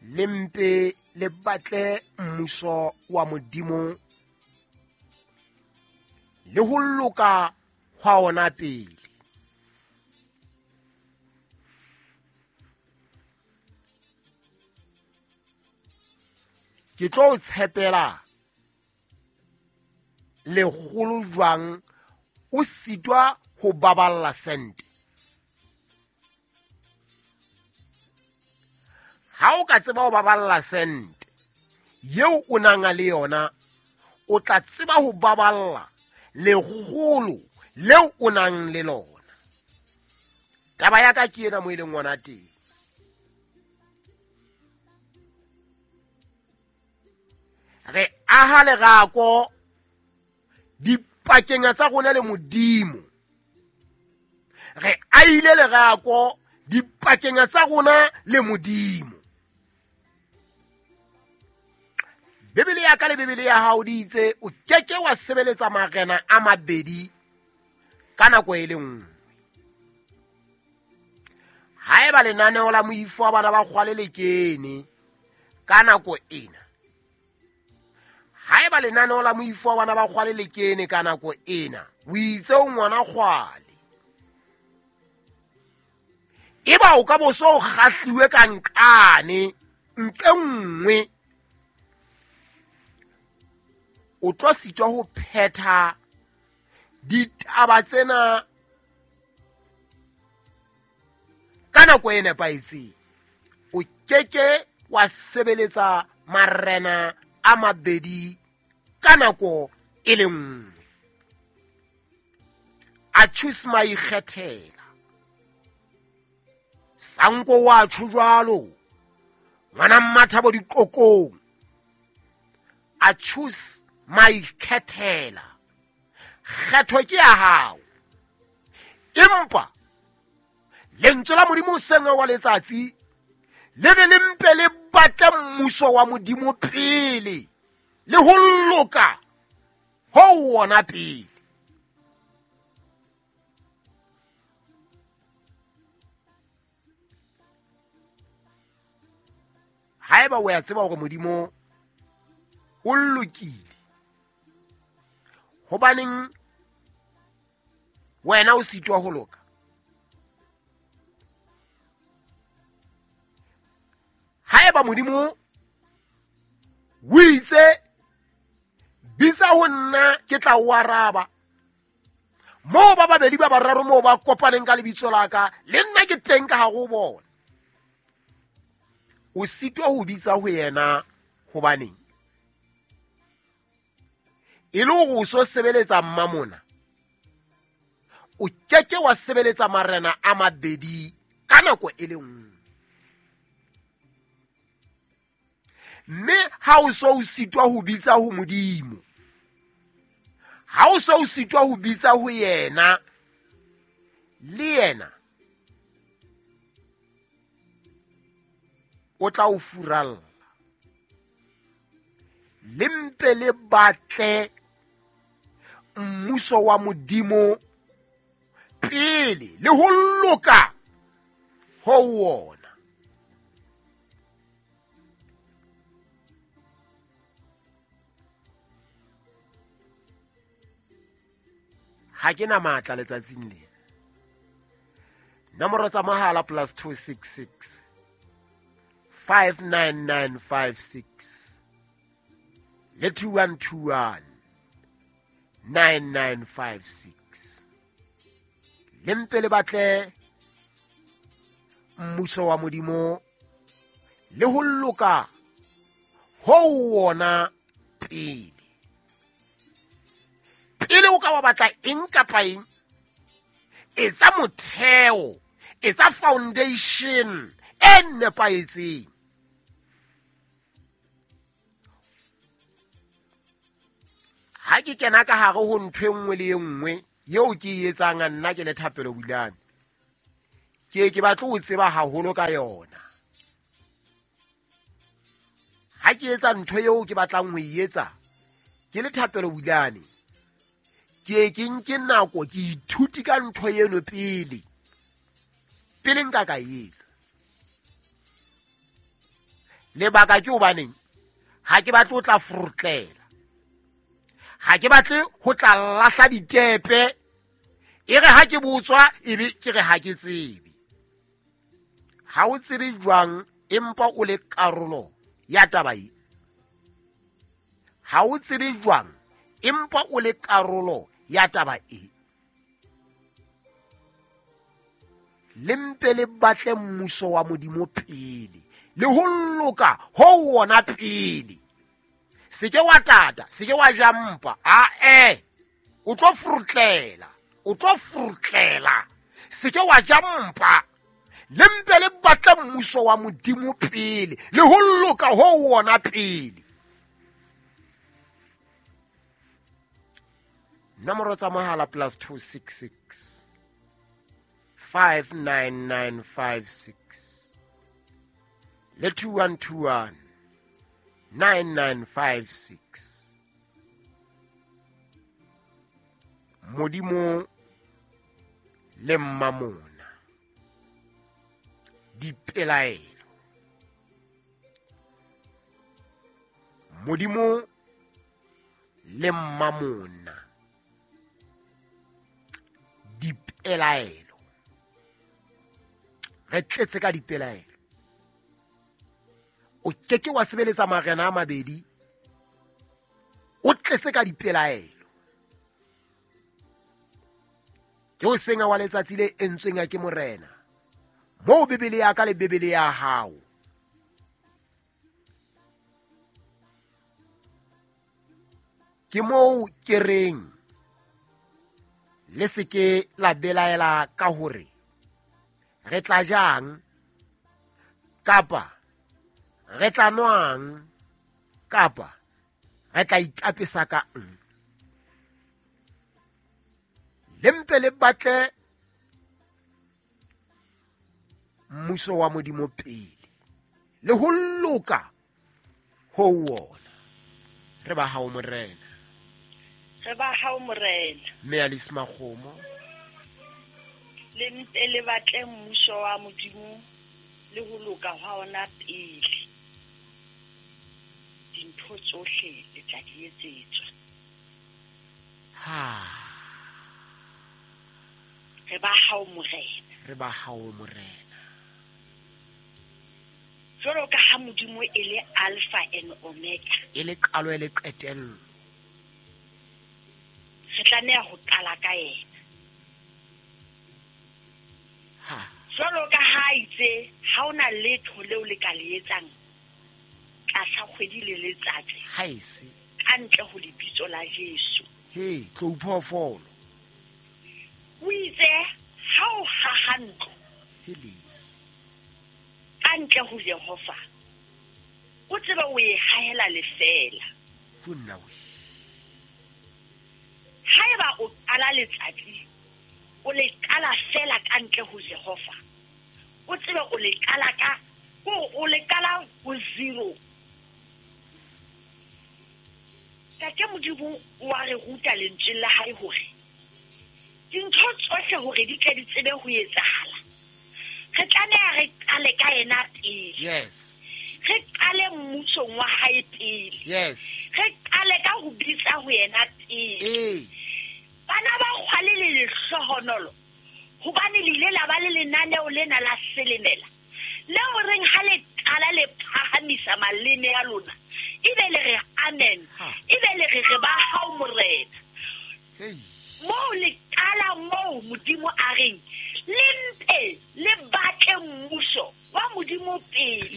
Le mpe le batle mmuso wa Modimo le ho loka hwa ona pele. Ke tlo o tshepela lekgolo jwang o sitwa ho baballa sente? Ha o ka tseba ho baballa sente yeo o nang le yona, o tla tseba ho baballa lekgolo leo o nang le lona. Taba ya ka ke ena mo e leng ngwana teng. Re aha lerako dipakeng tsa rona le Modimo. Re aile lerako dipakeng tsa rona le Modimo. Bibele ya ka le Bibele ya hao di itse o keke wa sebeletsa marena a mabedi ka nako e le nngwe. Haeba lenaneo la moifo wa bana ba kgwale le kene ka nako ena, haeba lenaneo la moifo wa bana ba kgwale le kene ka nako ena, o itse o ngwana kgwale, eba o ka bo so o kgahliwe ka nqane ntle nngwe, o tlo sitwa ho phetha ditaba tsena ka nako e nepahetseng. O keke wa sebeletsa marena a mabedi ka nako e le nngwe. A choose maikgethela. Sanko wa tjho jwalo, ngwana Mmathabo diqokong. A choose maikhethela. Kgetho ke ya hao. Empa lentswe la Modimo sengwe wa letsatsi le be le mpe le batle mmuso wa Modimo pele le ho loka ho wona pele. Haeba o ya tseba hore Modimo o lokile, hobaneng wena o sitwa ho loka? Haeba Modimo o itse bitsa ho nna ke tla o araba, moo ba babedi ba bararo moo ba kopaneng ka lebitso la ka, le nna ke teng ka hare ho bona. O sitwa ho bitsa ho yena hobaneng? E le hore o so sebeletsa mmamona, o keke wa sebeletsa marena a mabedi ka nako e le nngwe. Mme ha o so o sitwa ho bitsa ho Modimo, ha o so o sitwa ho bitsa ho yena, le yena o tla o furalla. Le mpe le batle mmuso wa Modimo pele le ho loka ho wona. Ha ke na matla letsatsing lena. Nomoro tsa mohala +266 59956 le 2121 9956. Le mpe le batle mmuso wa Modimo le ho loka ho wona pele. Pele o ka wa batla eng kapa eng, etsa motheo, etsa foundation e nepahetseng. Ha ke kena ka hare ho ntho e nngwe le e nngwe eo ke e etsang nna ke le Thapelo Bulane, ke ke batle ho tseba haholo ka yona. Ha ke etsa ntho eo ke batlang ho e etsa ke le Thapelo Bulane, ke ke nke nako ke ithuti ka ntho eno pele, pele nka ka e etsa. Lebaka ke hobaneng? Ha ke batle ho tla furutlela, ha ke batle ho tla lahla ditepe, e re ha ke botswa ebe ke re ha ke tsebe. Ha o tsebe jwang empa o le karolo ya taba e? Ha o tsebe jwang empa o le karolo ya taba e? Le mpe le batle mmuso wa Modimo pele, le ho loka ho wona pele. Se ke wa tata, se ke wa ja mpa, ae, o tlo furutlela, o tlo furutlela. Se ke wa ja mpa. Le mpe le batle mmuso wa Modimo pele, le ho loka ho wona pele. Nomoro tsa mohala +266 59956 le 2121 9956. Modimo le mmamona, dipelaelo. Modimo le mmamona, dipelaelo. Re tletse ka dipelaelo. O keke wa sebeletsa marena a mabedi, o tletse ka dipelaelo. Ke o senga wa letsatsi le entsweng ke morena, moo Bibele ya ka le Bibele ya hao ke moo ke reng le se ke la belaela ka hore re tla jang kapa re tla nwang kapa re tla ikapesa ka eng. Le mpe le batle mmuso wa Modimo pele, le ho loka ho wona. Re ba hao morena, re ba hao morena. Mme Alice Makgomo, le mpe le batle mmuso wa Modimo le ho loka hwa ona pele, dintho tsohle le tla di etsetswa. Ha re ba hao morena, re ba hao morena. Jwalo ka ha Modimo e le Alpha and Omega, e le qalo e le qetello, re tlameha ho qala ka yena. Ha jwalo ka ha itse ha ona letho leo le ka le etsang tlasa kgwedi le letsatsi, ha ese ka ntle ho lebitso la Jesu. He, tlou phoofolo. O itse ha o haha ntlo hele ka ntle ho Jehova, o tsebe o e hahela lefeela. Tjonna we. Haeba o qala letsatsi, o le qala fela ka ntle ho Jehova, o tsebe o le qala ka, o le qala ho zero. Tate Modimo wa re ruta lentswe la hae hore dintho tsohle hore di tle di tsebe ho etsahala, re tlameha re qale ka yena pele. Yes. Re qale mmusong wa hae pele. Yes. Re qale ka ho bitsa ho yena pele. Ee. Bana ba kgwale le lehlohonolo, hobane le ile la ba le lenaneo lena la selemela, leo reng ha le qala le phahamisa maleme a lona, ebe le re amen, ebe le re re ba hao morena. Hey. Moo le qala moo Modimo a reng le mpe le batle mmuso wa Modimo pele.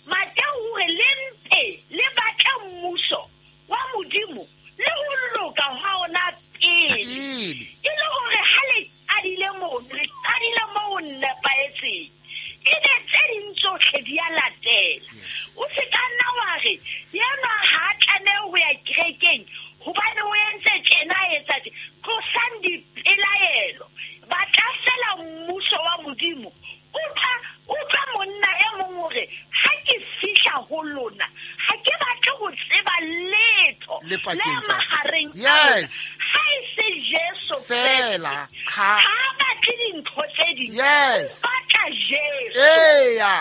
Mateo hore le mpe le batle mmuso wa Modimo le ho loka hwa ona pele. E le hore ha le qadile moo, le qadile moo nepahetseng, ebe tse ding tsohle di a latela. O se ka nna wa re yenwa ha a tlameha ho ya kerekeng hobane o entse tjena, a etsa tje. Tlosang dipelaelo, batla fela mmuso wa Modimo. Utlwa monna e mong hore ha ke fihla ho lona, ha ke batle ho tseba letho Le pakeng le tsa mahareng a lona. Yes. Ha e se Jesu Fela, Kreste. ha. Ha a batle dintho tse ding. Yes. O batla Jesu. Eya.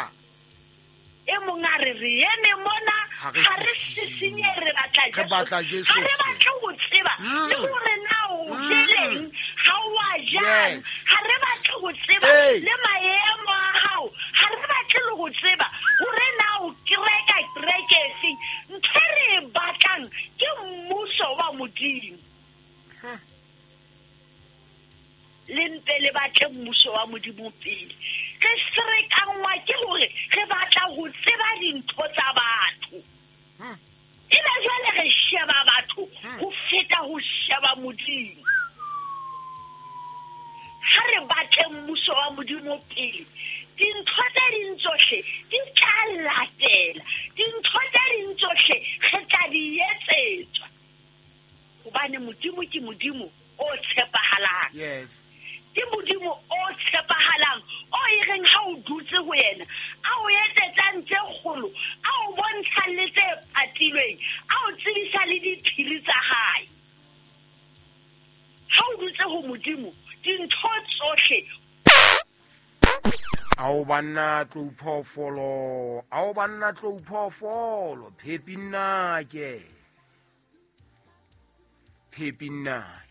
E mong a re re eme mona Ha re ha re sisinye. sisinye re batla Re batla Jesu Ha re feela. batle ho tseba le hore na o jeleng ha o a jang. Yes. Ha re batle ho tseba Hey. le maemo a hao. Ha re batle le ho tseba hore na o kereka kereke efeng. Ntho e re e batlang ke mmuso wa Modimo. Le mpe le batle mmuso wa Modimo pele. Re ferekanngwa ke hore re batla ho tseba dintho tsa batho. Ebe jwale re sheba batho ho feta ho sheba Modimo. Ha re batle mmuso wa Modimo pele, dintho tse ding tsohle di tla latela. Dintho tse ding tsohle re tla di etsetswa. Hobane Modimo ke Modimo o tshepahalang. Yes. Ke Modimo o tshepahalang, o e reng ha o dutse ho yena, a o etsetsang tse kgolo, a o bontshang le tse patilweng, a o tsebisa le diphiri tsa hae. Ha o dutse ho Modimo, dintho tsohle Ao banna tlou phoofolo, ao banna tlou phoofolo, phepi nnake. Phepi nnake.